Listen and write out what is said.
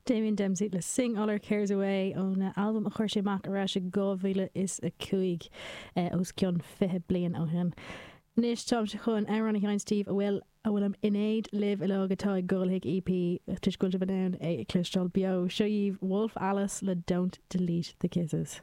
Damien Dempsey le Sing All Our Cares Away óna albam a chuir sé amach ar ais i 2005, os cionn 20 bliain ó shin. Anois táimse chun amhrán a sheinnt daoibh a bhfuil a bhfuilim in éad libh uilig atá ag dul chuig EP toisc go bhfuil sibh in ann é a chloisteáil beo. Seo dhaoibh Wolf Alice le Don't Delete the Kisses.